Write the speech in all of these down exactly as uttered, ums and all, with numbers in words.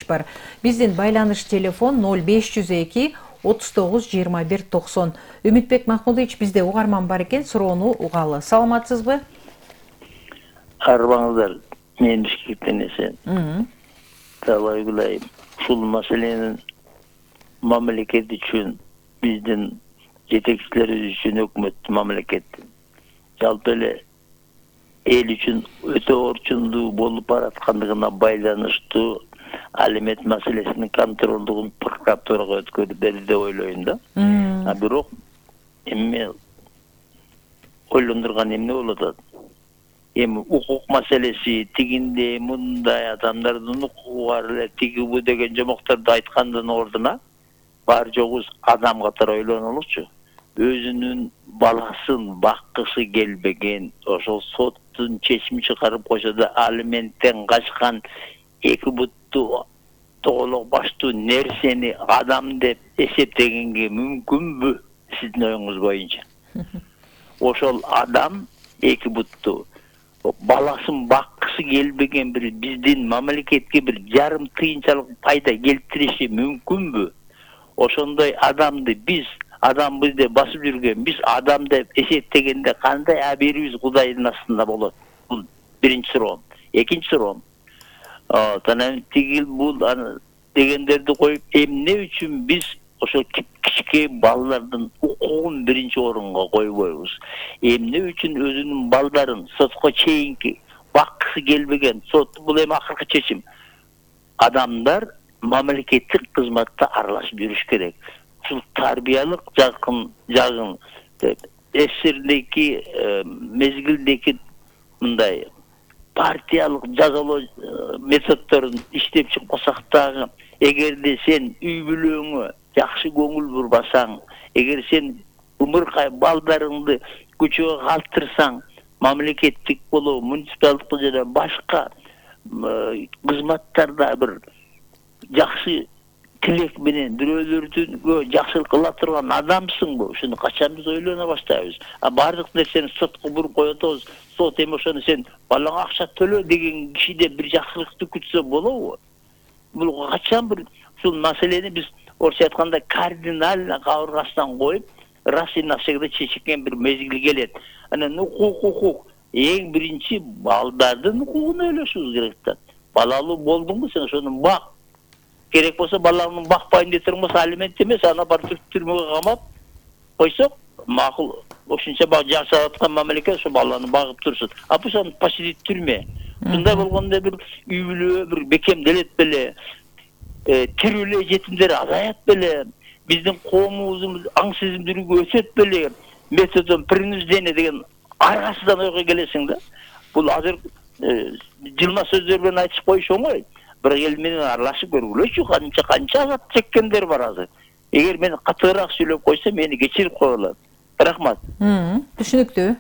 бар. Биздин байланыш телефон ноль беш жүз эки отуз тогуз жыйырма бир токсон. Үмүтбек Махмудович, бизде угарман бар экен, суроону угалы. Саламатсызбы? Арбаңыздар, мен Бишкектен эсен. Талай кылайым. Ушул маселенин мамлекет үчүн, биздин жетекчилерибиз үчүн, өкмөт, мамлекеттин жалпы эле эл үчүн өтө орчундуу болуп бараткандыгына байланыштуу алимент маселесинин контролдугун прокуратурага өткөрүп берди деп ойлойм да. А бирок эми ойлондурган эмне болуп атат? Эми укук маселеси тигинде мындай адамдардын укугу бар эле тиги бу деген жомокторду айткандын ордуна бар жогубуз адам катары ойлонолучу. Өзүнүн баласын баккысы келбеген, ошол соттун чечими чыгарып койсо да алименттен качкан эки буттуу тоголок баштуу нерсени адам деп эсептегенге мүмкүнбү сиздин оюңуз боюнча? Ошол адам эки буттуу баласын баккысы келбеген бир биздин мамлекетке бир жарым тыйынчалык пайда келтириши мүмкүнбү? Ошондой адамды биз адамбыз деп басып жүргөн, биз адам деп эсептегенде кандай абийирибиз Кудайдын астында болот? Бул биринчи суроом. Экинчи суроом. Анан тигил бул дегендерди коюп, эмне үчүн биз ошол кичке балдардын укугун биринчи орунга койбойбуз? Эмне үчүн өзүнүн балдарын сотко чейинки баккысы келбеген, сот бул эми акыркы чечим. Адамдар мамлекеттик кызматта аралашып жүрүш керек. Ушул тарбиялык жакын жагын эсирдеки мезгилдеки мындай партиялык жазалоо методдорун иштеп чыкпасак дагы, эгерде сен үй бүлөңө жакшы көңүл бурбасаң, эгер сен умуркай балдарыңды көчөгө калтырсаң, мамлекеттик болобу, муниципалдык жана башка кызматтарда бир жакшы тилек менен бирөөлөргө жакшылык кыла турган адамсыңбы? Ушуну качан биз ойлоно баштайбыз? А бардык нерсени сотко буруп коюп атабыз. Сот эми ошону сен балаңа акча төлө деген кишиде бир жакшылыкты күтсө болобу? Бул качан бир ушул маселени биз орусча айтканда кардинально кабыргасынан коюп, раз и навсегда чечкен бир мезгил келет. Анан укук укук эң биринчи балдардын укугун ойлошубуз керек да. Балалуу болдуңбу сен, ошону бак. Керек болсо балаңды бакпайын деп турмаса алимент эмес, аны барып түрмөгө камап койсок, макул. Ошончо бак жашап аткан мамлекет ошо баланы багып турсун. А бул ошо почти түрмө. Мындай болгондо бир үй бүлө бир бекемделет беле, тирүү эле жетимдер азаят беле, биздин коомубуздун аң сезимдүүлүгү өсөт беле, методдон принуждение деген аргасыздан ойго келесиң да. Бул азыр жылма сөздөр менен айтып коюш оңой. Бирок эл менен аралашып көргүлөчү, канча канча азап чеккендер бар азыр. Эгер мен катыыраак сүйлөп койсом, мени кечирип койгула. Рахмат. Түшүнүктүү.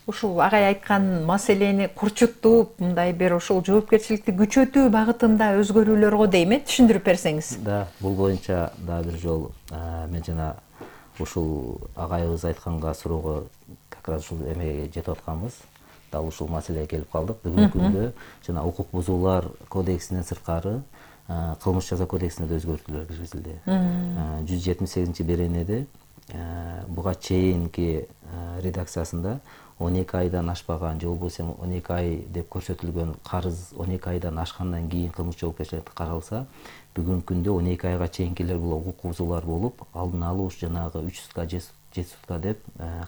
Ушул агай айткан маселени курчуттуп, мындай бир ошол жоопкерчиликти күчөтүү багытында өзгөрүүлөргө дейм, э, түшүндүрүп берсеңиз. Да, бул боюнча дагы бир жолу мен жана ушул агайыбыз айтканга суроого как раз ушул эмеге жетип атканбыз. Дал ушул маселеге келип калдык. Бүгүнкү күндө жана укук бузуулар кодексинен сырткары кылмыш жаза кодексине да өзгөртүүлөр киргизилди. жүз жетимиш сегизинчи беренеде буга чейинки редакциясында он эки айдан ашпаган же болбосо он эки ай деп көрсөтүлгөн карыз он эки айдан ашкандан кийин кылмыш жоопкерчиликке каралса, бүгүнкү күндө он эки айга чейинкилер бул укук бузуулар болуп, алдын алуу жанагы үч сутка жети сутка деп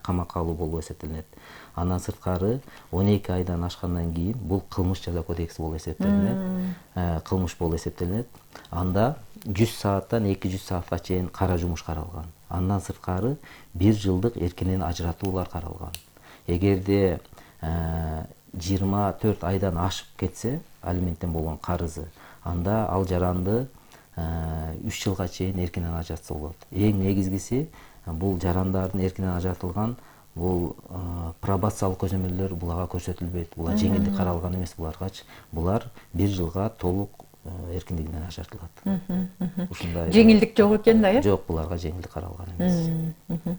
камакка алуу болуп эсептелинет. Андан сырткары он эки айдан ашкандан кийин бул кылмыш жаза кодекси болуп эсептелинет. Кылмыш болуп эсептелинет. Анда жүз сааттан эки жүз саатка чейин кара жумуш каралган. Андан сырткары бир жылдык эркинен ажыратуулар каралган. Эгерде жыйырма төрт айдан ашып кетсе алименттен болгон карызы, анда ал жаранды үч жылга чейин эркинен ажыратса болот. Эң негизгиси бул жарандардын эркинен ажыратылган бул пробациялык көзөмөлдөр буларга көрсөтүлбөйт. Булар жеңилдик каралган эмес буларгачы. Булар бир жылга толук эркиндигинен ажыратылат. Ушундай жеңилдик жок экен да, э? Жок, буларга жеңилдик каралган эмес.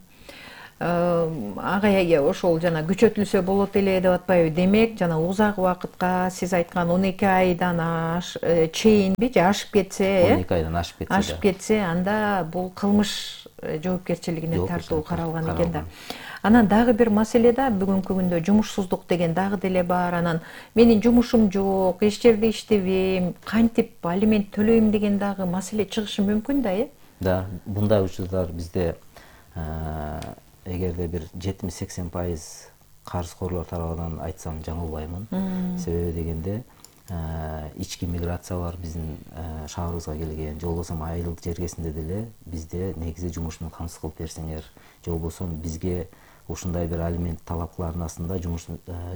агай ошол жана күчөтүлсө болот эле деп атпайбы? Демек, жана узак убакытка сиз айткан он эки айдан аш чейинби же ашып кетсе, он эки айдан ашып кетсе, ашып кетсе, анда бул кылмыш жоопкерчилигине тартуу каралган экен да. Анан дагы бир маселе да, бүгүнкү күндө жумушсуздук деген дагы деле бар. Анан менин жумушум жок, эч жерде иштебейм, кантип алимент төлөйм деген дагы маселе чыгышы мүмкүн да, э? Да, мындай учурлар бизде эгерде бир жетимиш сексен пайыз карызкорлор тарабынан айтсам жаңылбаймын. Себеби дегенде ички миграция бар биздин шаарыбызга келген, же болбосо айыл жергесинде деле бизде негизи жумуш менен камсыз кылып берсеңер, же болбосо бизге ушундай бир алимент талап кылардын астында жумуш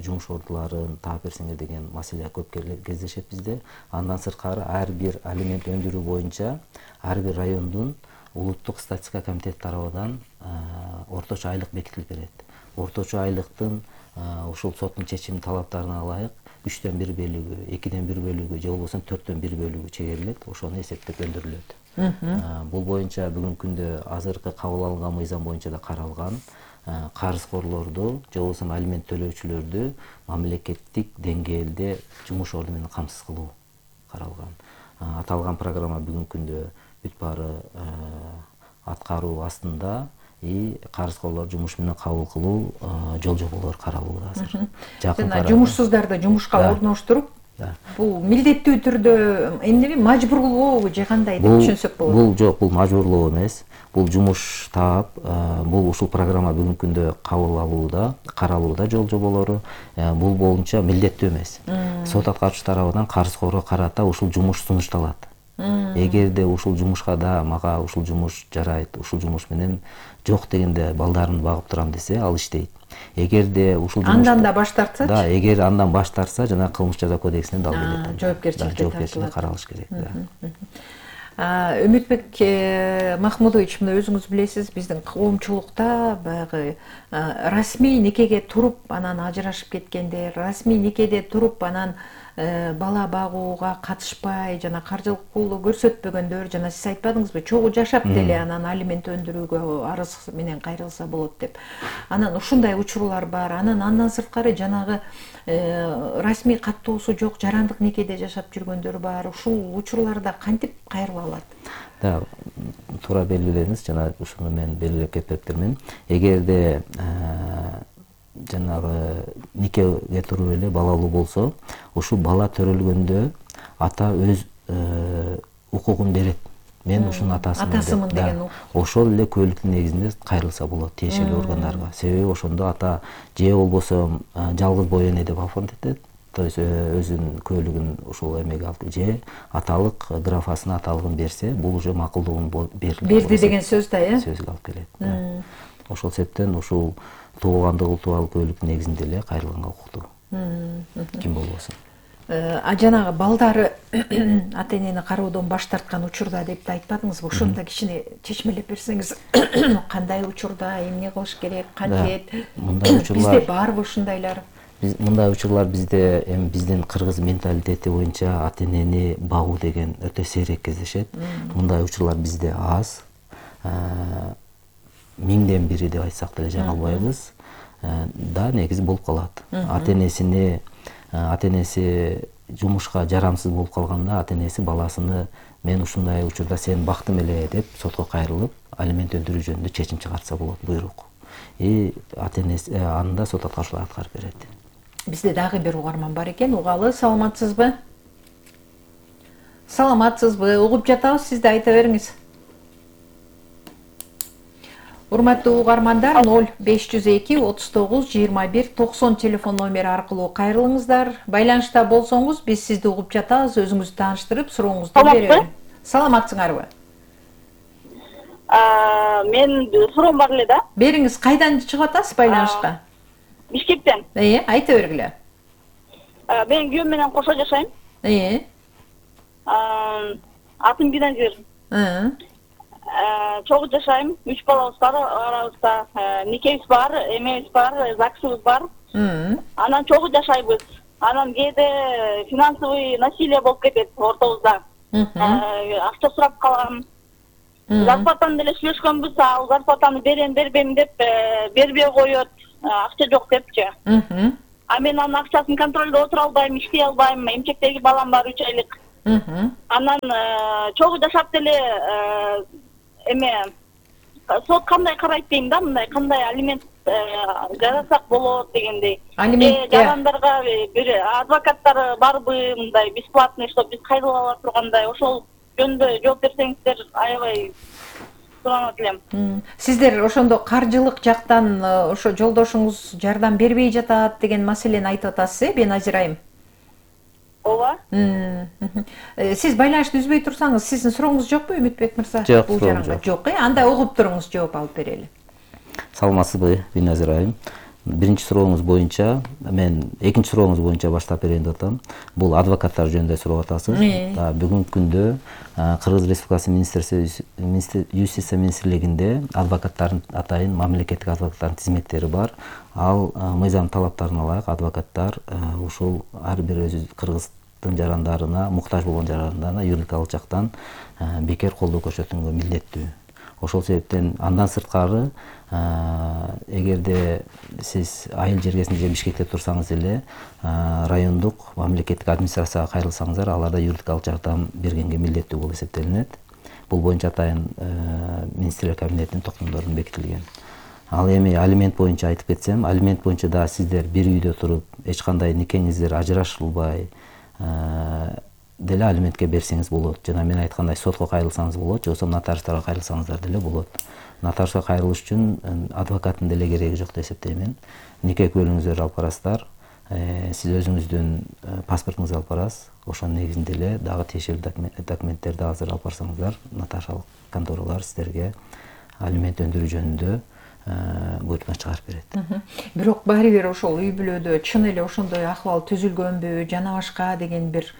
жумуш ордуларын таап берсеңер деген маселе көп кездешет бизде. Андан сырткары ар бир алимент өндүрүү боюнча ар бир райондун улуттук статистика комитети тарабынан орточо айлык бекитилип берет. Орточо айлыктын ушул соттун чечим талаптарына ылайык үчтөн бир бөлүгү, экиден бир бөлүгү же болбосо төрттөн бир бөлүгү чегерилет, ошону эсептеп өндүрүлөт. Бул боюнча бүгүнкү күндө азыркы кабыл алынган мыйзам боюнча да каралган. Карызкорлорду же болбосо алимент төлөөчүлөрдү мамлекеттик деңгээлде жумуш орду менен камсыз кылуу каралган. Аталган программа бүгүнкү күндө бүт баары аткаруу астында, и карызкорлор жумуш менен кабыл кылуу жол жоболору каралууда азыр. Жана жумушсуздарды жумушка орноштуруп, бул милдеттүү түрдө эмне мажбурлообу же кандай деп түшүнсөк болот? Бул жок, бул мажбурлоо эмес. Бул жумуш таап, бул ушул программа бүгүнкү күндө кабыл алууда, каралууда жол жоболору. Бул боюнча милдеттүү эмес. Сот аткаруучу тарабынан карызкорго карата ушул жумуш сунушталат. Эгерде ушул жумушка да мага ушул жумуш жарайт, ушул жумуш менен жок дегенде балдарымды багып турам десе, ал иштейт. Эгерде ушул жумуш андан да баш тартса, да, эгер андан баш тартса, жана кылмыш жаза кодексине дал келет. Жоопкерчиликке жоопкерчиликке каралыш керек. Үмүтбек Махмудович, мына өзүңүз билесиз, биздин коомчулукта баягы расмий никеге туруп, анан ажырашып кеткендер, расмий никеде туруп, анан бала багууга катышпай, жана каржылык колдоо көрсөтпөгөндөр, жана сиз айтпадыңызбы, чогуу жашап деле анан алимент өндүрүүгө арыз менен кайрылса болот деп. Анан ушундай учурлар бар. Анан андан сырткары жанагы расмий каттоосу жок, жарандык никеде жашап жүргөндөр бар. Ушул учурларда кантип кайрыла алат? Да, туура белгиледиңиз, жана ушуну мен белгилеп кетиптирмин. Эгерде жанагы никеге туруп эле балалуу болсо, ушул бала төрөлгөндө ата өз укугун берет. Мен ушунун атасымын деген. Ошол эле күбөлүктүн негизинде кайрылса болот тиешелүү органдарга. Себеби ошондо ата же болбосо жалгыз бой эне деп оформдетет, то есть өзүнүн күбөлүгүн ушул эмеге алып, же аталык графасына аталыгын берсе, бул уже макулдугун берилди. Берди деген сөз да, э? Сөзгө алып келет. Ошол себептен ушул туугандык тууралуу күбөлүктүн негизинде эле кайрылганга укуктуу. Ким болбосун. А жанагы балдары ата энени кароодон баш тарткан учурда деп да айтпадыңызбы? Ошону да кичине чечмелеп берсеңиз, кандай учурда эмне кылыш керек, кантет? Мындай учурлар бизде барбы ушундайлар? Биз мындай учурлар бизде эми биздин кыргыз менталитети боюнча ата энени багуу деген өтө сейрек кездешет. Мындай учурлар бизде аз. Миңден бири деп айтсак деле жаңылбайбыз. Да, негизи болуп калат. Ата энесини ата энеси жумушка жарамсыз болуп калганда, ата энеси баласыны мен ушундай учурда сени бактым эле деп сотко кайрылып, алимент өндүрүү жөнүндө чечим чыгарса болот, буйрук. И ата энеси анда сот аткаруучулар аткарып берет. Бизде дагы бир угарман бар экен. Угалы, саламатсызбы? Саламатсызбы? Угуп жатабыз, сиз да айта бериңиз. Урматтуу угармандар, ноль беш жүз эки отуз тогуз жыйырма бир токсон телефон номери аркылуу кайрылыңыздар. Байланышта болсоңуз, биз сизди угуп жатабыз, өзүңүздү тааныштырып, сурооңузду беребиз. Саламатсыңарбы? Мен суроом бар эле да. Бериңиз, кайдан чыгып атасыз байланышка? Бишкектен. Э, айта бергиле. Мен күйөөм менен кошо жашайм. Э. Атым Биназир. Ы. Чогуу жашайм, үч балабыз бар арабызда, никебиз бар, эмебиз бар, ЗАГСыбыз бар. Анан чогуу жашайбыз. Анан кээде финансовый насилие болуп кетет ортобузда. Акча сурап калам. зарплатаны деле сүйлөшкөнбүз, ал зарплатаны берем бербейм деп бербей коет, акча жок депчи. А мен анын акчасын контролдо отура албайм, иштей албайм, эмчектеги балам бар үч айлык. Анан чогуу жашап деле эме сот кандай карайт дейм да, мындай кандай алимент жарасак болот дегендей. Алимент жарандарга бир адвокаттар барбы, мындай бесплатный, чтоб биз кайрыла ала тургандай, ошол жөнүндө жооп берсеңиздер аябай суранат элем. Сиздер ошондо каржылык жактан ошо жолдошуңуз жардам бербей жатат деген маселени айтып атасыз, э, Беназир айым? Ооба. Сиз байланышты үзбөй турсаңыз, сиздин сурооңуз жокпу, Үмүтбек мырза? Жок, бул жаранга жок, э? Анда угуп туруңуз, жооп алып берели. Саламатсызбы, Беназир айым? Биринчи сурооңуз боюнча, мен экинчи сурооңуз боюнча баштап берейин деп атам. Бул адвокаттар жөнүндө сурап атасыз. Бүгүнкү күндө Кыргыз Республикасы Юстиция министрлигинде адвокаттардын атайын мамлекеттик адвокаттардын тизметтери бар. Ал мыйзам талаптарына ылайык адвокаттар ушул ар бир өзү кыргыздын жарандарына, муктаж болгон жарандарына юридикалык жактан бекер колдоо көрсөтүүгө милдеттүү. Ошол себептен андан сырткары эгерде сиз айыл жергесинде же Бишкекте турсаңыз эле райондук мамлекеттик администрацияга кайрылсаңыздар, аларда юридикалык жардам бергенге милдеттүү болуп эсептелинет. Бул боюнча атайын министрлер кабинетинин токтомдорунда бекитилген. Ал эми алимент боюнча айтып кетсем, алимент боюнча да сиздер бир үйдө туруп, эч кандай никеңиздер ажырашылбай деле алиментке берсеңиз болот. Жана мен айткандай сотко кайрылсаңыз болот, же болбосо нотариустарга кайрылсаңыздар деле болот. Нотариуска кайрылыш үчүн адвокаттын деле кереги жок деп эсептейм. Нике күбөлүңүздөрдү алып барасыздар, сиз өзүңүздүн паспортуңузду алып барасыз. Ошонун негизинде эле дагы тиешелүү документтерди азыр алып барсаңыздар, нотариалык конторалар сиздерге алимент өндүрүү жөнүндө буйртма чыгарып берет. Бирок баары бир ошол үй бүлөдө чын эле ошондой акыбал түзүлгөнбү, жана башка деген бир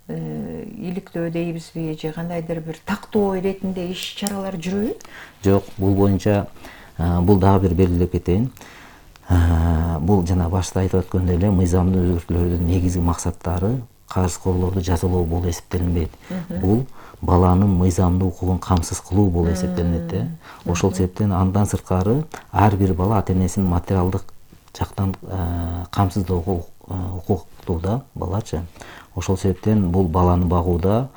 иликтөө дейбизби, же кандайдыр бир тактоо иретинде иш чаралар жүрөбү? Жок, бул боюнча бул дагы бир белгилеп кетейин. Бул жана башта айтып өткөндөй эле мыйзамдын өзгөртүүлөрүнүн негизги максаттары карызкорлорду жазалоо болуп эсептелинбейт. Бул баланын мыйзамдуу укугун камсыз кылуу болуп эсептелинет. Ошол себептен андан сырткары ар бир бала ата-энесинин материалдык жактан камсыздоого укуктуу да балачы. Ошол себептен бул баланы багууда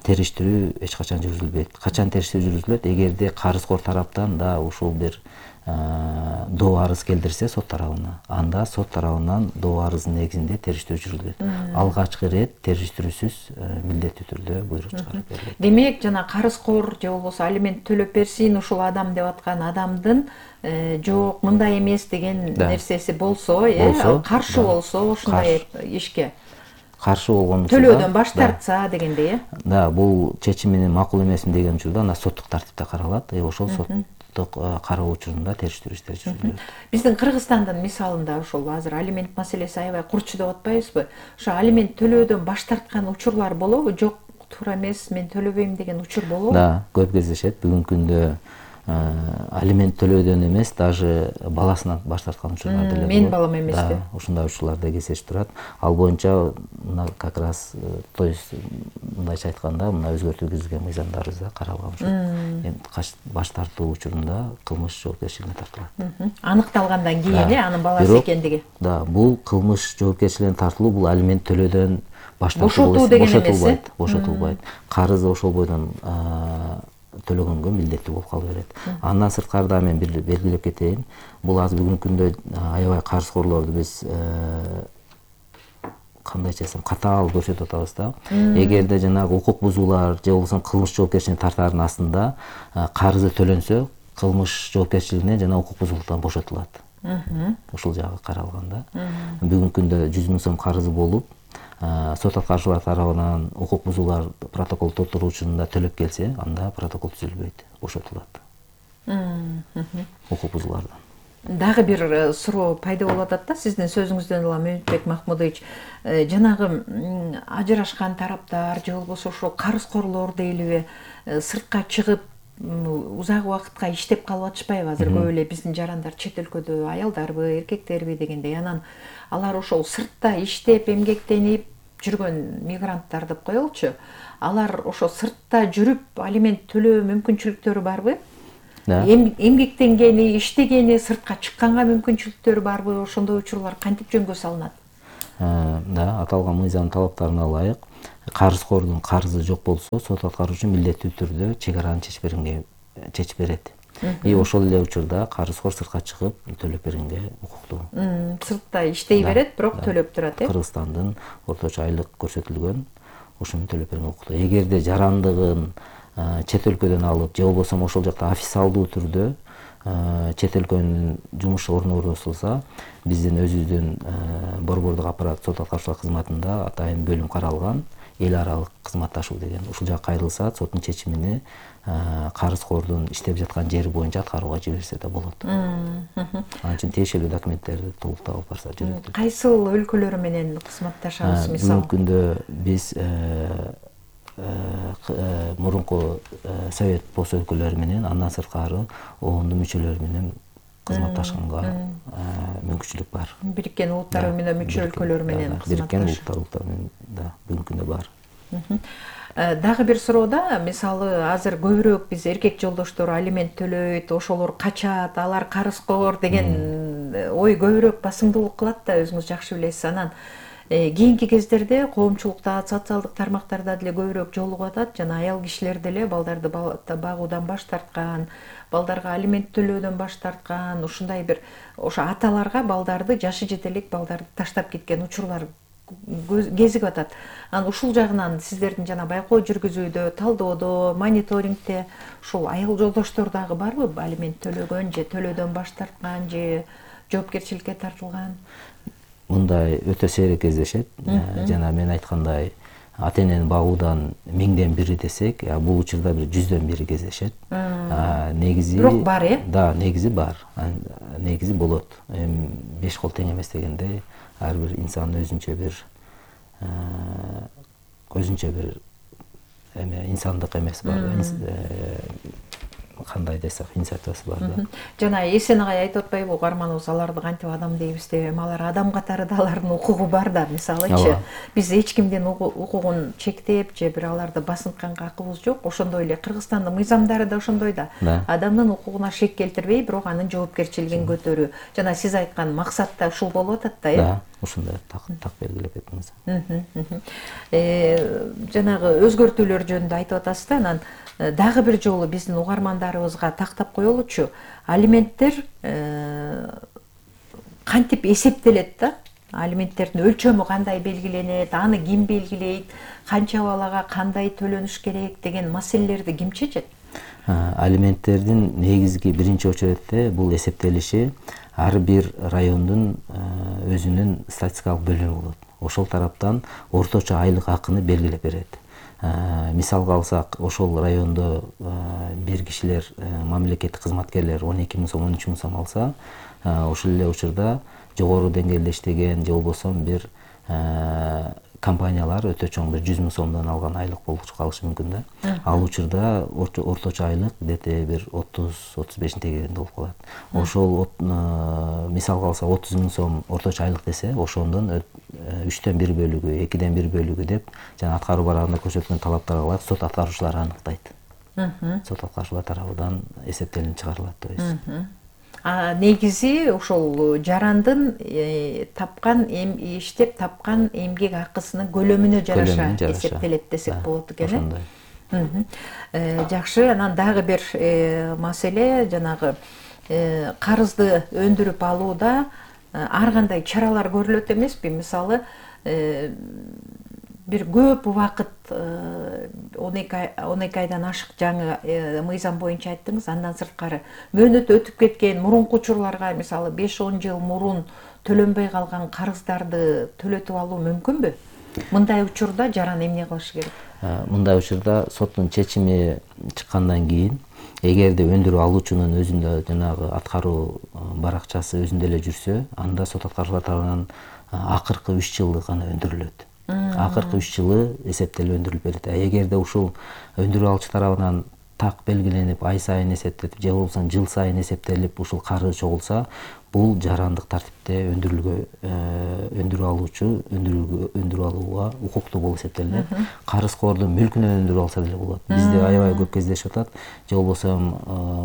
териштирүү эч качан жүргүзүлбөйт. Качан териштирүү жүргүзүлөт? Эгерде карызкор тараптан да ушул бир доо арыз келтирсе сот тарабына, анда сот тарабынан доо арыздын негизинде териштирүү жүргүзүлөт. Алгачкы ирет териштирүүсүз милдеттүү түрдө буйрук чыгарып берилет. Демек, жана карызкор же болбосо алимент төлөп берсин ушул адам деп аткан адамдын жок, мындай эмес деген нерсеси болсо, э, каршы болсо ошондой ишке каршы болгон төлөөдөн баш тартса дегендей, э? Да, бул чечимине макул эмесмин деген учурда анда соттук тартипте каралат. Э, ошол соттук кароо учурунда териштирүү иштери жүргүзүлөт. Биздин Кыргызстандын мисалында ошол азыр алимент маселеси аябай курчу деп атпайбызбы? Ошо алимент төлөөдөн баш тарткан учурлар болобу? Жок, туура эмес, мен төлөбөйм деген учур болобу? Да, көп кездешет. Бүгүнкү күндө алимент төлөөдөн эмес, даже баласынан баш тарткан учурлар деле болот. Менин балам эмес деп. Ушундай учурлар да кездешип турат. Ал боюнча мына как раз, то есть мындайча айтканда, мына өзгөртүү киргизилген мыйзамдарыбызда каралган учур. Эми баш тартуу учурунда кылмыш жоопкерчилигине тартылат. Аныкталгандан кийин э, анын баласы экендиги. Да, бул кылмыш жоопкерчилигине тартылуу, бул алимент төлөөдөн баш тартуу деген эмес, бошотулбайт, бошотулбайт. Карызы ошол бойдон төлөгөнгө милдеттүү болуп кала берет. Андан сырткары да мен бир белгилеп кетейин. Бул азыр бүгүнкү күндө аябай карызкорлорду биз кандайча десем катаал көрсөтүп атабыз да. Эгерде жанагы укук бузуулар же болбосо кылмыш жоопкерчилигине тартаардын астында карызы төлөнсө, кылмыш жоопкерчилигинен жана укук бузуулуктан бошотулат. Ушул жагы каралган да. Бүгүнкү күндө жүз миң сом карызы болуп, сот аткаручулар тарабынан укук бузуулар протокол толтуруу учурунда төлөп келсе, анда протокол түзүлбөйт, бошотулат. Укук бузуулардан. Дагы бир суроо пайда болуп атат да, сиздин сөзүңүздөн улам Үмүтбек Махмудович, жанагы ажырашкан тараптар же болбосо ошо карызкорлор дейлиби, сыртка чыгып узак убакытка иштеп калып атышпайбы? Азыр көп эле биздин жарандар чет өлкөдө аялдарбы, эркектерби дегендей, анан алар ошол сыртта иштеп, эмгектенип, жүргөн мигранттар деп коелучу, алар ошо сыртта жүрүп алимент төлөө мүмкүнчүлүктөрү барбы? Эмгектенгени, иштегени, сыртка чыкканга мүмкүнчүлүктөрү барбы? Ошондой учурлар кантип жөнгө салынат? Да, аталган мыйзам талаптарына ылайык карызкордун карызы жок болсо, сот аткаруучу милдеттүү түрдө чек араны чечип бергенге чечип берет. И ошол эле учурда карызкор сыртка чыгып төлөп бергенге укуктуу. Сыртта иштей берет, бирок төлөп турат, э? Кыргызстандын орточо айлык көрсөтүлгөн, ошону төлөп бергенге укуктуу. Эгерде жарандыгын чет өлкөдөн алып, же болбосо ошол жакта официалдуу түрдө чет өлкөнүн жумуш орну орнотулса, биздин өзүбүздүн борбордук аппарат сот аткаруучулар кызматында атайын бөлүм каралган, эл аралык кызматташуу деген. Ушул жака кайрылса, соттун чечимини карызкордун иштеп жаткан жери боюнча аткарууга жиберсе да болот. Ал үчүн тиешелүү документтерди толуктап алып барса жүрөт. Кайсыл өлкөлөр менен кызматташабыз, мисалы? Бүгүнкү күндө биз мурунку совет пост өлкөлөрү менен, андан сырткары оондун мүчөлөрү менен кызматташканга мүмкүнчүлүк бар. Бириккен Улуттар Уюмуна мүчө өлкөлөр менен Бириккен Улуттар Уюму менен да бүгүнкү күндө бар. Дагы бир суроода, мисалы, азыр көбүрөөк биз эркек жолдоштор алимент төлөйт, ошолор качат, алар карызкор деген ой көбүрөөк басымдуулук кылат да, өзүңүз жакшы билесиз. Анан кийинки кездерде коомчулукта, социалдык тармактарда деле көбүрөөк жолугуп атат, жана аял кишилер деле балдарды багуудан баш тарткан, балдарга алимент төлөөдөн баш тарткан, ушундай бир ошо аталарга балдарды, жашы жете элек балдарды таштап кеткен учурлар кезигип атат. Анан ушул жагынан сиздердин жана байкоо жүргүзүүдө, талдоодо, мониторингде ушул аял жолдоштор дагы барбы? Алимент төлөгөн же төлөөдөн баш тарткан же жоопкерчиликке тартылган? Мындай өтө сейрек кездешет. Жана мен айткандай, ата энени багуудан миңден бири десек, бул учурда бир жүздөн бири кездешет. Негизи бирок бар, э? Да, негизи бар. Негизи болот. Эми беш кол тең эмес дегендей, ар бир инсан өзүнчө бир өзүнчө бир эме инсандык эмеси бар. Кандай десек, инициативасы бар да. Жана Эсен агай айтып атпайбы, угарманыбыз аларды кантип адам дейбиз деп, эми алар адам катары да, алардын укугу бар да. Мисалычы, биз эч кимдин укугун чектеп же бир аларды басынтканга акыбыз жок. Ошондой эле Кыргызстандын мыйзамдары да ошондой да. Адамдын укугуна шек келтирбей, бирок анын жоопкерчилигин көтөрүү. Жана сиз айткан максат да ушул болуп атат да, э? Да, ушундай так белгилеп кеттиңиз. Жанагы өзгөртүүлөр жөнүндө айтып атасыз да, анан дагы бир жолу биздин угармандарыбызга тактап коелучу, алименттер кантип эсептелет да? Алименттердин өлчөмү кандай белгиленет, аны ким белгилейт, канча балага кандай төлөнүш керек деген маселелерди ким чечет? Алименттердин негизги биринчи очередде бул эсептелиши ар бир райондун өзүнүн статистикалык бөлүмү болот. Ошол тараптан орточо айлык акыны белгилеп берет. Мисалга алсак, ошол райондо бир кишилер, мамлекеттик кызматкерлер он эки миң сом, он үч миң сом алса, ошол эле учурда жогору деңгээлде иштеген же болбосо бир компаниялар өтө чоң бир жүз миң сомдон алган айлык болуп калышы мүмкүн да. Ал учурда орточо айлык дете бир отуз отуз беш тегеренде болуп калат. Ошол мисалга алсак отуз миң сом орточо айлык десе, ошондон үчтөн бир бөлүгү, экиден бир бөлүгү деп жана аткаруу барагында көрсөткөн талаптарга ылайык сот аткаруучулар аныктайт. Сот аткаруучулар тарабынан эсептелинип чыгарылат, то есть. Негизи ошол жарандын тапкан иштеп тапкан эмгек акысынын көлөмүнө жараша эсептелет десек болот экен, э? Жакшы, анан дагы бир маселе, жанагы карызды өндүрүп алууда ар кандай чаралар көрүлөт эмеспи? Мисалы, бир көп убакыт он эки айдан ашык жаңы мыйзам боюнча айттыңыз, андан сырткары мөөнөт өтүп кеткен мурунку учурларга, мисалы беш он жыл мурун төлөнбөй калган карыздарды төлөтүп алуу мүмкүнбү? Мындай учурда жаран эмне кылыш керек? Мындай учурда соттун чечими чыккандан кийин, эгерде өндүрүп алуучунун өзүндө жанагы аткаруу баракчасы өзүндө эле жүрсө, анда сот аткаруучулар тарабынан акыркы үч жылдык гана өндүрүлөт. Акыркы үч жылы эсептелип өндүрүлүп берет. Эгерде ушул өндүрүп алуучу тарабынан так белгиленип, ай сайын эсептелип, же болбосо жыл сайын эсептелип ушул карыз чогулса, бул жарандык тартипте өндүрүлгө өндүрүп алуучу өндүрүлгө өндүрүп алууга укуктуу болуп эсептелинет. Карызкордун мүлкүнөн өндүрүп алса деле болот. Бизде аябай көп кездешип атат. Же болбосо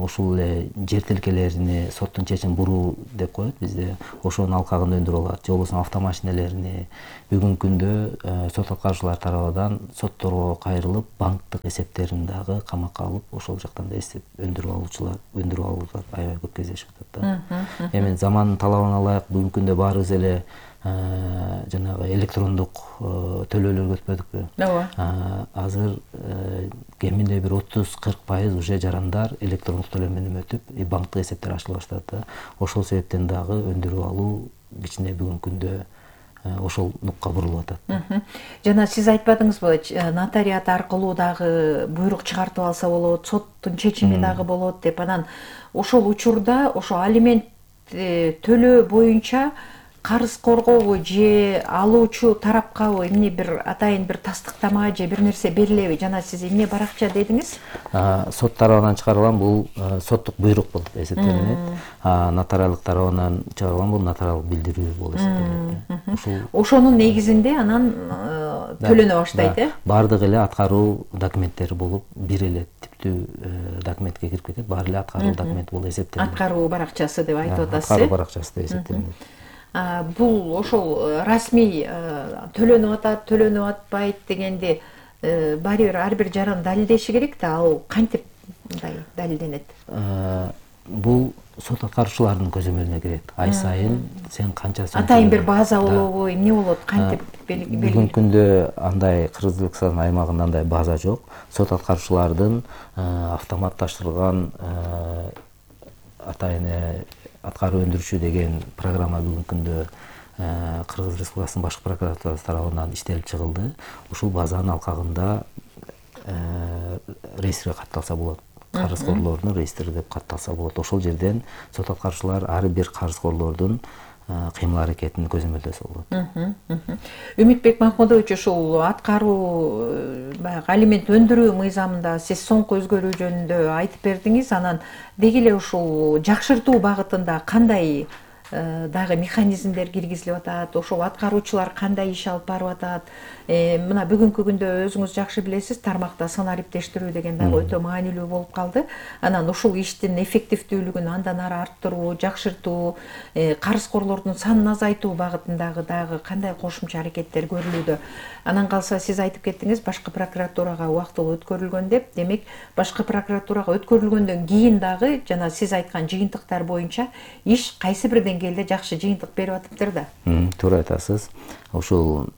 ушул эле жер тилкелерине соттун чечимин буруу деп коет бизде. Ошонун алкагында өндүрүп алат. Же болбосо автомашинелерине бүгүнкү күндө сот аткаруучулар тарабынан сотторго кайрылып, банктык эсептерин дагы камакка алып, ошол жактан да эсеп өндүрүп алуучулар, өндүрүп алуулар аябай көп кездешип атат да. Эми замандын талабына ылайык бүгүнкү күндө баарыбыз эле жанагы электрондук төлөөлөргө өтпөдүкпү? Ооба. Азыр кеминде бир отуз кырк пайыз уже жарандар электрондук төлөм менен өтүп, банктык эсептер ачыла баштады да. Ошол себептен дагы өндүрүп алуу кичине бүгүнкү күндө ошол нукка бурулуп атат. Жана сиз айтпадыңызбы, нотариат аркылуу дагы буйрук чыгартып алса болот, соттун чечими дагы болот деп. Анан ошол учурда ошо алимент төлөө боюнча карызкоргобу же алуучу тарапкабы эмне бир атайын бир тастыктама же бир нерсе берилеби? Жана сиз эмне баракча дедиңиз? Сот тарабынан чыгарылган бул соттук буйрук болуп эсептелинет. Нотариалдык тарабынан чыгарылган бул нотариалдык билдирүү болуп эсептелинет. Ошонун негизинде анан төлөнө баштайт, э? Бардык эле аткаруу документтери болуп, бир эле типтүү документке кирип кетет. Баары эле аткаруу документ болуп эсептелинет. Аткаруу баракчасы деп айтып атасыз, э? Аткаруу баракчасы деп эсептелинет. Бул ошол расмий төлөнүп атат, төлөнүп атпайт дегенди баары бир ар бир жаран далилдеши керек да, ал кантип мындай далилденет? Бул сот аткаруучулардын көзөмөлүнө кирет. Ай сайын сен канча сом атайын бир база болобу, эмне болот, кантип белгилейт? Бүгүнкү күндө андай Кыргызстан аймагында андай база жок. Сот аткаруучулардын автоматташтырылган атайын аткаруу өндүрүшү деген программа бүгүнкү күндө Кыргыз Республикасынын башкы прокуратурасы тарабынан иштелип чыгылды. Ушул базанын алкагында реестрге катталса болот. Карызкорлордун реестри деп катталса болот. Ошол жерден сот аткаруучулар ар бир карызкорлордун кыймыл аракетин көзөмөлдөсө болот. Үмүтбек Махмудович, ушул аткаруу баягы алимент өндүрүү мыйзамында сиз соңку өзгөрүү жөнүндө айтып бердиңиз. Анан деги эле ушул жакшыртуу багытында кандай дагы механизмдер киргизилип атат, ошол аткаруучулар кандай иш алып барып атат? Мына бүгүнкү күндө өзүңүз жакшы билесиз, тармакта сан ариптештирүү деген дагы өтө маанилүү болуп калды. Анан ушул иштин эффективдүүлүгүн андан ары арттыруу, жакшыртуу, карызкорлордун санын азайтуу багытындагы дагы кандай кошумча аракеттер көрүлүүдө? Анан калса сиз айтып кеттиңиз, башкы прокуратурага убактылуу өткөрүлгөн деп. Демек, башкы прокуратурага өткөрүлгөндөн кийин дагы жана сиз айткан жыйынтыктар боюнча иш кайсы бир деңгээлде жакшы жыйынтык берип атыптыр да? Туура айтасыз. Ушул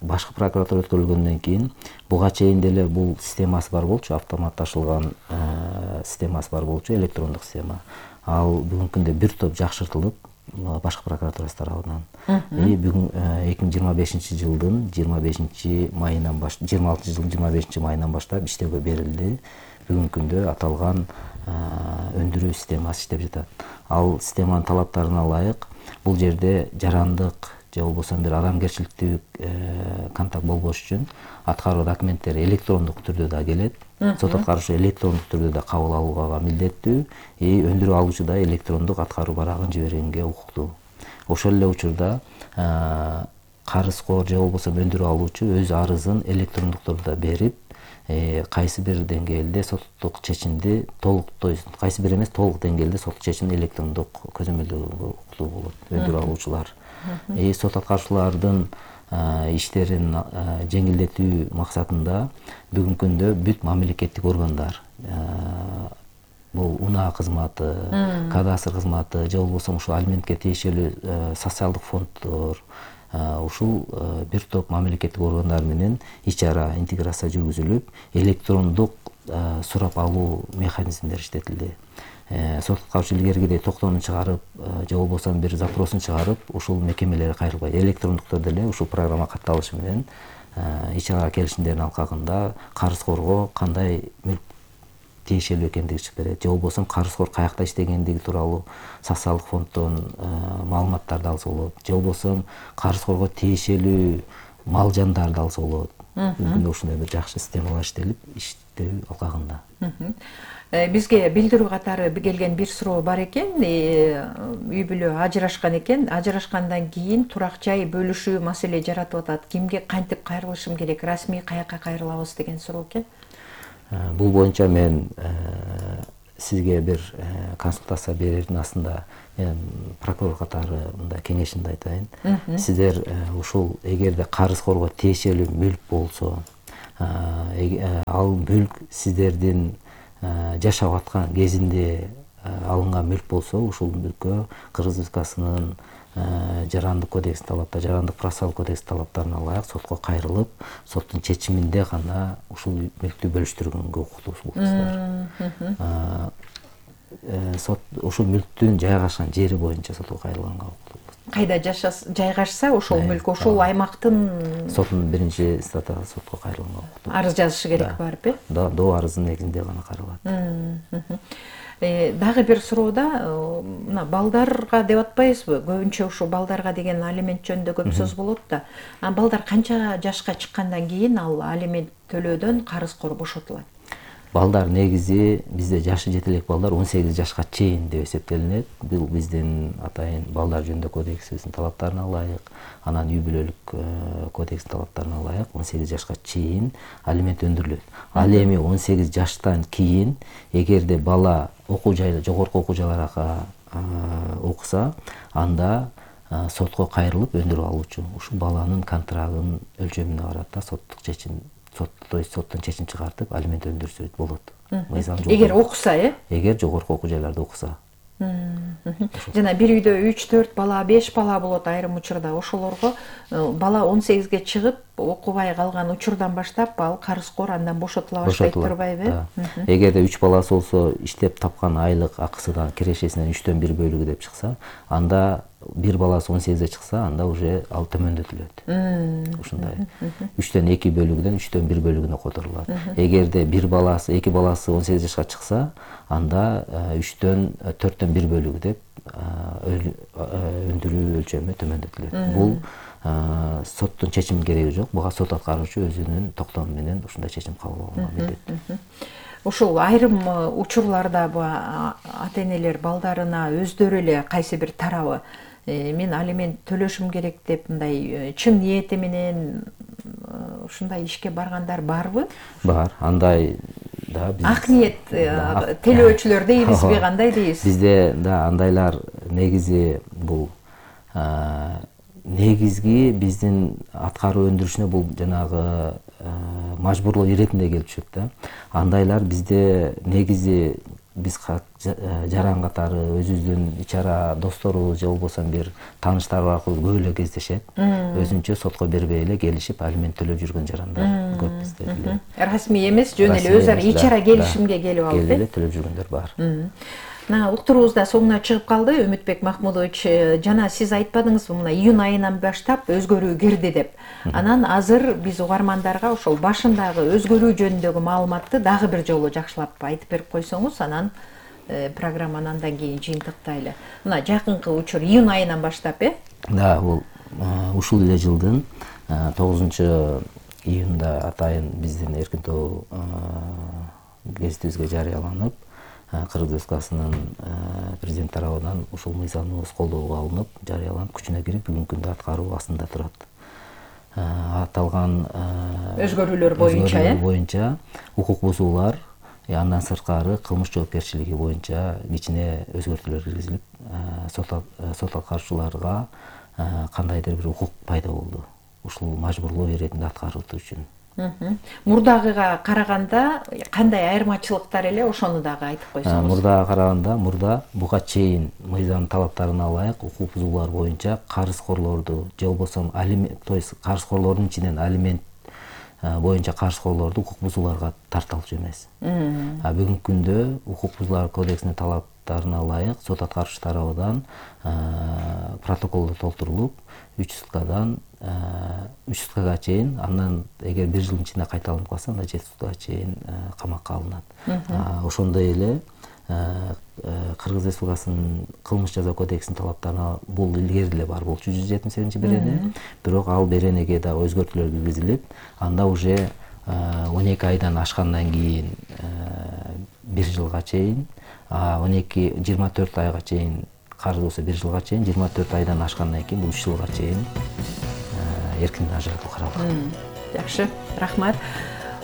башкы прокуратура өткөрүлгөндөн кийин буга чейин деле бул системасы бар болчу, автоматташылган системасы бар болчу, электрондук система. Ал бүгүнкү күндө бир топ жакшыртылып, башкы прокуратурасы тарабынан. И бүгүн эки миң жыйырма бешинчи жылдын жыйырма бешинчи майынан баштап, жыйырма алтынчы жылдын жыйырма бешинчи майынан баштап иштөөгө берилди. Бүгүнкү күндө аталган өндүрүү системасы иштеп жатат. Ал системанын талаптарына ылайык бул жерде жарандык же болбосо бир адамгерчиликтүү контакт болбош үчүн аткаруу документтери электрондук түрдө да келет. Сот аткаруучу электрондук түрдө да кабыл алууга милдеттүү, и өндүрүп алуучу да электрондук аткаруу барагын жибергенге укуктуу. Ошол эле учурда карызкор же болбосо өндүрүп алуучу өз арызын электрондук түрдө берип, кайсы бир деңгээлде соттук чечимди толук, то есть кайсы бир эмес, толук деңгээлде соттук чечимди электрондук көзөмөлдөөгө укуктуу болот өндүрүп алуучулар. И сот аткаруучулардын иштерин жеңилдетүү максатында бүгүнкү күндө бүт мамлекеттик органдар, бул унаа кызматы, кадастр кызматы же болбосо ушул алиментке тиешелүү социалдык фонддор, ушул бир топ мамлекеттик органдар менен ич ара интеграция жүргүзүлүп, электрондук сурап алуу механизмдери иштетилди. Сот аткаруучу илгеркидей токтоомун чыгарып же болбосо бир запросун чыгарып, ушул мекемелерге кайрылбайт. Электрондук түрдө эле ушул программа катталышы менен ич ара келишимдердин алкагында карызкорго кандай мүлк тиешелүү экендиги чыгып берет. Же болбосо карызкор каякта иштегендиги тууралуу социалдык фонддон маалыматтарды алса болот. Же болбосо карызкорго тиешелүү мал жандарды алса болот. бүгүн ушундай бир жакшы системалар иштелип иштөө алкагында. Бизге билдирүү катары келген бир суроо бар экен. Үй бүлө ажырашкан экен. Ажырашкандан кийин турак жай бөлүшүү маселе жаратып атат. Кимге кантип кайрылышым керек? Расмий каяка кайрылабыз деген суроо экен. Бул боюнча мен сизге бир консультация берердин астында мен прокурор катары мындай кеңешимди айтайын. Сиздер ушул эгерде карызкорго тиешелүү мүлк болсо, ал мүлк сиздердин жашап аткан кезинде алынган мүлк болсо, ушул мүлккө Кыргыз Республикасынын жарандык кодекс талаптары, жарандык процессуалдык кодекс талаптарына ылайык сотко кайрылып, соттун чечиминде гана ушул мүлктү бөлүштүргөнгө укуктуу болосуздар. Сот ушул мүлктүн жайгашкан жери боюнча сотко кайрылганга укуктуу. Кайда жайгашса ошол мүлк ошол аймактын соттун биринчи инстанцияда сотко кайрылганга укуктуу. Арыз жазышы керек барып, э? Да, доо арыздын негизинде гана кайрылат. Дагы бир суроода мына балдарга деп атпайбызбы? Көбүнчө ушу балдарга деген алимент жөнүндө көп сөз болот да. А балдар канча жашка чыккандан кийин ал алимент төлөөдөн карызкор бошотулат? Балдар негизи бизде жашы жете элек балдар он сегиз жашка чейин деп эсептелинет. Бул биздин атайын балдар жөнүндө кодексибиздин талаптарына ылайык, анан үй бүлөлүк кодекстин талаптарына ылайык он сегиз жашка чейин алимент өндүрүлөт. Ал эми он сегиз жаштан кийин эгерде бала окуу жайда, жогорку окуу жайларга окуса, анда сотко кайрылып өндүрүп алуучу ушул баланын контрагынын өлчөмүнө карап да соттук чечим соттон чечим чыгартып алимент өндүрсө болот. Эгер окуса, э? Эгер жогорку окуу жайларда окуса. Жана бир үйдө үч төрт бала, беш бала болот айрым учурда. Ошолорго бала он сегизге чыгып окубай калган учурдан баштап ал карызкор андан бошотула баштайт турбайбы? Эгерде үч баласы болсо, иштеп тапкан айлык акысынан, кирешесинен үчтөн бир бөлүгү деп чыкса, анда бир баласы он сегизге чыкса, анда уже ал төмөндөтүлөт. Ушундай. үчтөн эки бөлүгүдөн үчтөн бир бөлүгүнө которулат. Эгерде бир баласы, эки баласы он сегиз жашка чыкса, анда үчтөн төрттөн бир бөлүгү деп өндүрүү өлчөмү төмөндөтүлөт. Бул соттун чечимин кереги жок. Буга сот аткаруучу өзүнүн токтому менен ушундай чечим кабыл алганга милдеттүү. Ушул айрым учурларда ата энелер балдарына өздөрү эле кайсы бир тарабы мен алимент төлөшүм керек деп мындай чын ниети менен ушундай ишке баргандар барбы? Бар. Андай да биз ак ниет төлөөчүлөр дейбизби, кандай дейбиз? Бизде да андайлар негизи бул негизги биздин аткаруу өндүрүшүнө бул жанагы мажбурлоо иретинде келип түшөт да. Андайлар бизде негизи биз жаран катары өзүбүздүн ич ара досторубуз же болбосо бир тааныштар аркылуу көп эле кездешет. Өзүнчө сотко бербей эле келишип алимент төлөп жүргөн жарандар көп бизде. Расмий эмес, жөн эле өз ара ич ара келишимге келип алып, келип эле төлөп жүргөндөр бар. Мына уктуруубуз да соңуна чыгып калды. Үмүтбек Махмудович, жана сиз айтпадыңызбы, мына июнь айынан баштап өзгөрүү кирди деп. Анан азыр биз угармандарга ошол башындагы өзгөрүү жөнүндөгү маалыматты дагы бир жолу жакшылап айтып берип койсоңуз, анан программаны андан кийин жыйынтыктайлы. Мына жакынкы учур июнь айынан баштап, э? Да, бул ушул эле жылдын тогузунчу июнда атайын биздин эркин-тоо гезитибизге жарыяланып, Кыргыз Республикасынын президент тарабынан ушул мыйзамыбыз колдоого алынып, жарыяланып, күчүнө кирип, бүгүнкү күндө аткаруу астында турат. Аталган өзгөрүүлөр боюнча, э? боюнча укук бузуулар, андан сырткары кылмыш жоопкерчилиги боюнча кичине өзгөртүүлөр киргизилип, сот аткаруучуларга кандайдыр бир укук пайда болду. Ушул мажбурлоо иретинде аткарылуу үчүн. Мурдагыга караганда кандай айырмачылыктар эле, ошону дагы айтып койсоңуз. Мурдага караганда, мурда буга чейин мыйзам талаптарына ылайык укук бузуулар боюнча карызкорлорду же болбосо алимент, то есть карызкорлордун ичинен алимент боюнча карызкорлорду укук бузууларга тарталчу эмес. А бүгүнкү күндө укук бузуулар кодексинин талаптарына ылайык сот аткаруучу тарабынан протоколдор толтурулуп, үч суткадан үч суткага чейин, андан эгер бир жылдын ичинде кайталанып калса, анда жети суткага чейин камакка алынат. Ошондой эле Кыргыз Республикасынын кылмыш жаза кодексинин талаптарына бул илгери эле бар болчу жүз жетимиш сегизинчи берене, бирок ал беренеге дагы өзгөртүүлөр киргизилип, анда уже он эки айдан ашкандан кийин бир жылга чейин, он эки жыйырма төрт айга чейин карыз болсо бир жылга чейин, жыйырма төрт айдан ашкандан кийин бул үч жылга чейин эркинден ажыратуу каралган. Жакшы, рахмат.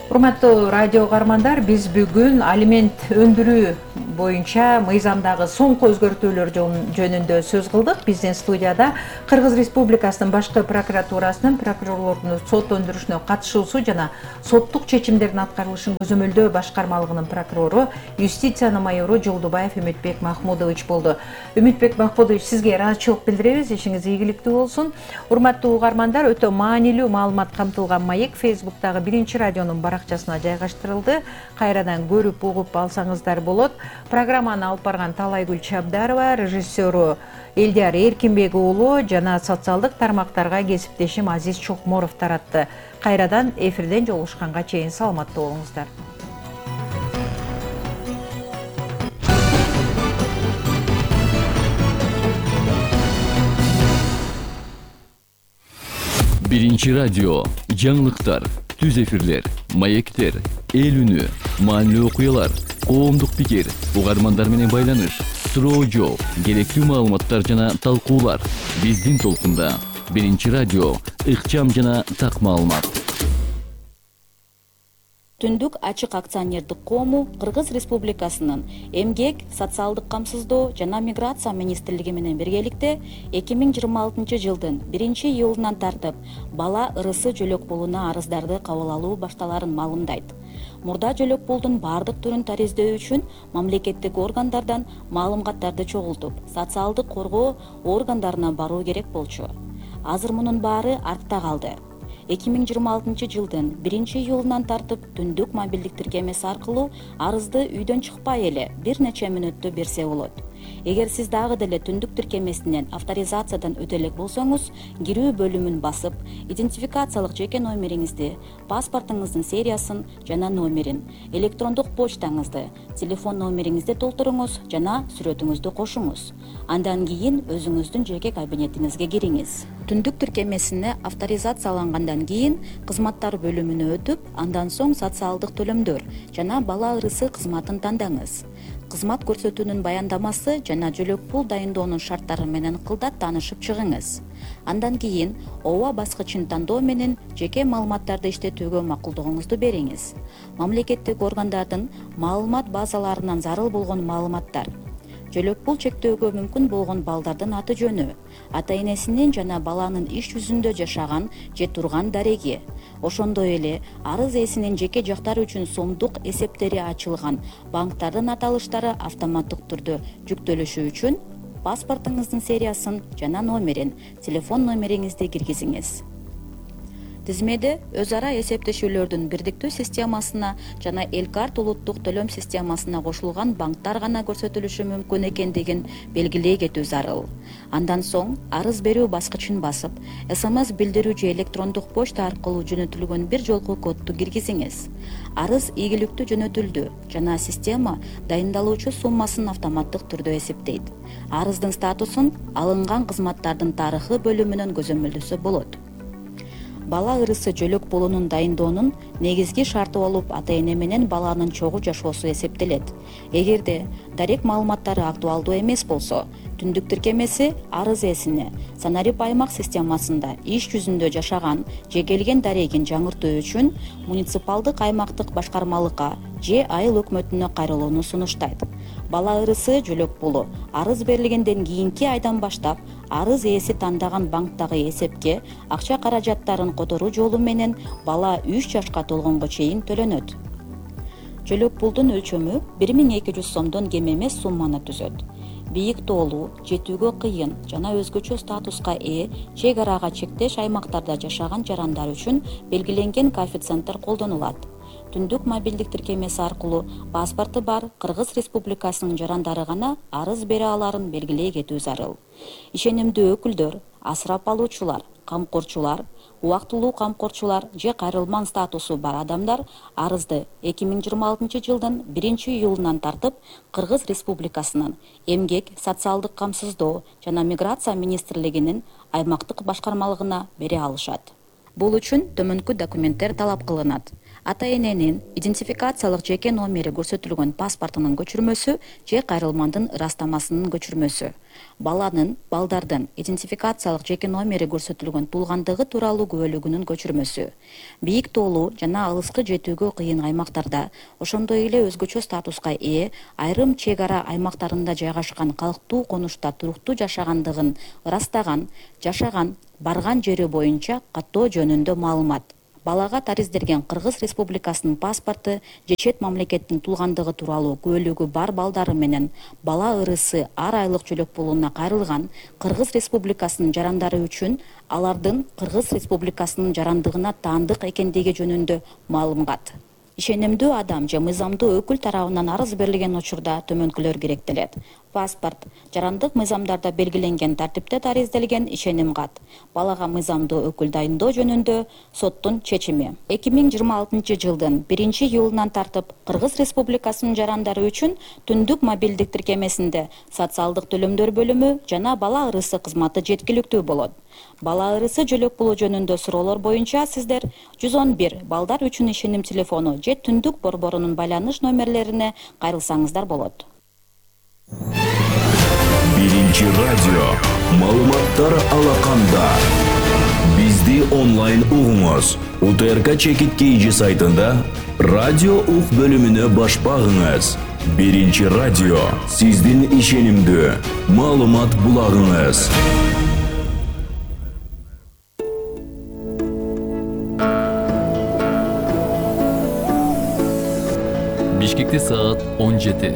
Урматтуу радио угармандар, биз бүгүн алимент өндүрүү боюнча мыйзамдагы соңку өзгөртүүлөр жөнүндө сөз кылдык. Биздин студияда Кыргыз Республикасынын башкы прокуратурасынын прокурорлордун сот өндүрүшүнө катышуусу жана соттук чечимдердин аткарылышын көзөмөлдөө башкармалыгынын прокурору, юстициянын майору Жолдубаев Үмүтбек Махмудович болду. Үмүтбек Махмудович, сизге ыраазычылык билдиребиз, ишиңиз ийгиликтүү болсун. Урматтуу угармандар, өтө маанилүү маалымат камтылган маек Фейсбуктагы биринчи радионун баракчасына жайгаштырылды. Кайрадан көрүп, угуп алсаңыздар болот. Программаны алып барган Талайгүл Чабдарова, режиссеру Элдияр Эркинбек уулу жана социалдык тармактарга кесиптешим Азиз Чокморов таратты. Кайрадан эфирден жолугушканга чейин саламаттуу болуңуздар. Биринчи радио, жаңылыктар, түз эфирлер, маектер, эл үнү, маанилүү окуялар, коомдук пикир, угармандар менен байланыш, суроо жооп, керектүү маалыматтар жана талкуулар. Биздин толкунда Биринчи радио, ыкчам жана так маалымат. Түндүк ачык акционердик коому Кыргыз Республикасынын эмгек, социалдык камсыздоо жана миграция министрлиги менен биргеликте эки миң жыйырма алтынчы жылдын биринчи июлунан тартып бала ырысы жөлөк пулуна арыздарды кабыл алуу башталарын маалымдайт. Мурда жөлөк пулдун бардык түрүн тариздөө үчүн мамлекеттик органдардан маалыматтарды чогултуп, социалдык коргоо органдарына баруу керек болчу. Азыр мунун баары артта калды. эки миң жыйырма алтынчы жылдын биринчи июлунан тартып түндүк мобилдик тиркемеси аркылуу арызды үйдөн чыкпай эле бир нече мүнөттө берсе болот. Эгер сиз дагы деле түндүк тиркемесинен авторизациядан өтө элек болсоңуз, кирүү бөлүмүн басып, идентификациялык жеке номериңизди, паспортуңуздун сериясын жана номерин, электрондук почтаңызды, телефон номериңизди толтуруңуз жана сүрөтүңүздү кошуңуз. Андан кийин өзүңүздүн жеке кабинетиңизге кириңиз. Түндүк тиркемесине авторизациялангандан кийин кызматтар бөлүмүнө өтүп, андан соң социалдык төлөмдөр жана бала ырысы кызматын тандаңыз. Кызмат көрсөтүүнүн баяндамасы жана жөлөк пул дайындоонун шарттары менен кылдат таанышып чыгыңыз. Андан кийин ооба баскычын тандоо менен жеке маалыматтарды иштетүүгө макулдугуңузду бериңиз. Мамлекеттик органдардын маалымат базаларынан зарыл болгон маалыматтар, жөлөк пул чектөөгө мүмкүн болгон балдардын аты жөнү, ата энесинин жана баланын иш жүзүндө жашаган же турган дареги, ошондой эле арыз ээсинин жеке жактары үчүн сомдук эсептери ачылган банктардын аталыштары автоматтык түрдө жүктөлүшү үчүн паспортуңуздун сериясын жана номерин, телефон номериңизди киргизиңиз. Тизмеде өз ара эсептешүүлөрдүн бирдиктүү системасына жана Элкарт улуттук төлөм системасына кошулган банктар гана көрсөтүлүшү мүмкүн экендигин белгилей кетүү зарыл. Андан соң арыз берүү баскычын басып, СМС билдирүү же электрондук почта аркылуу жөнөтүлгөн бир жолку кодду киргизиңиз. Арыз ийгиликтүү жөнөтүлдү жана система дайындалуучу суммасын автоматтык түрдө эсептейт. Арыздын статусун алынган кызматтардын тарыхы бөлүмүнөн көзөмөлдөсө болот. Бала ырысы жөлөк пулунун дайындоонун негизги шарты болуп ата эне менен баланын чогуу жашоосу эсептелет. Эгерде дарек маалыматтары актуалдуу эмес болсо, түндүк тиркемеси арыз ээсине санарип аймак системасында иш жүзүндө жашаган же келген дарегин жаңыртуу үчүн муниципалдык аймактык башкармалыкка же айыл өкмөтүнө кайрылууну сунуштайт. Бала ырысы жөлөк пулу арыз берилгенден кийинки айдан баштап арыз ээси тандаган банктагы эсепке акча каражаттарын которуу жолу менен бала үч жашка толгонго чейин төлөнөт. Жөлөк пулдун өлчөмү бир миң эки жүз сомдон кем эмес сумманы түзөт. Бийик тоолуу, жетүүгө кыйын жана өзгөчө статуска ээ чек арага чектеш аймактарда жашаган жарандар үчүн белгиленген коэффициенттер колдонулат. Түндүк мобилдик тиркемеси аркылуу паспорту бар Кыргыз Республикасынын жарандары гана арыз бере аларын белгилей кетүү зарыл. Ишенимдүү өкүлдөр, асырап алуучулар, камкорчулар, убактылуу камкорчулар же кайрылман статусу бар адамдар арызды эки миң жыйырма алтынчы жылдын биринчи июлунан тартып Кыргыз Республикасынын Эмгек, социалдык камсыздоо жана миграция министрлигинин аймактык башкармалыгына бере алышат. Бул үчүн төмөнкү документтер талап кылынат. Ата-эненин идентификациялык жеке номери көрсөтүлгөн паспортунун көчүрмөсү же кайрылмандын ырастамасынын көчүрмөсү. Баланын, балдардын идентификациялык жеке номери көрсөтүлгөн туулгандыгы тууралуу күбөлүгүнүн көчүрмөсү. Бийик тоолуу жана алыскы жетүүгө кыйын аймактарда, ошондой эле өзгөчө статуска ээ айрым чек ара аймактарында жайгашкан калктуу конушта туруктуу жашагандыгын ырастаган, жашаган, барган жери боюнча каттоо жөнүндө маалымат. Балага тариздерген Кыргыз Республикасынын паспорту же чет мамлекеттин туулгандыгы тууралуу күбөлүгү бар балдары менен бала ырысы ар айлык жөлөк пулуна кайрылган Кыргыз Республикасынын жарандары үчүн алардын Кыргыз Республикасынын жарандыгына таандык экендиги жөнүндө маалымат. Ишенимдүү адам же мыйзамдуу өкүл тарабынан арыз берилген учурда төмөнкүлөр керектелет. Паспорт, жарандык мыйзамдарда белгиленген тартипте таризделген ишеним кат. Балага мыйзамдуу өкүл дайындоо жөнүндө соттун чечими. эки миң жыйырма алтынчы жылдын биринчи июлунан тартып Кыргыз Республикасынын жарандары үчүн түндүк мобилдик тиркемесинде социалдык төлөмдөр бөлүмү жана бала ырысы кызматы жеткиликтүү болот. Бала ырысы жөлөк пулу жөнүндө суроолор боюнча сиздер жүз он бир балдар үчүн ишеним телефону же түндүк борборунун байланыш номерлерине кайрылсаңыздар болот. Биринчи радио маалыматтар алаканда. Бизди онлайн угуңуз. У Т Р К чекит кейжи сайтында радио ук бөлүмүнө баш багыңыз. Биринчи радио сиздин ишенимдүү маалымат булагыңыз. Бишкекте саат он жети.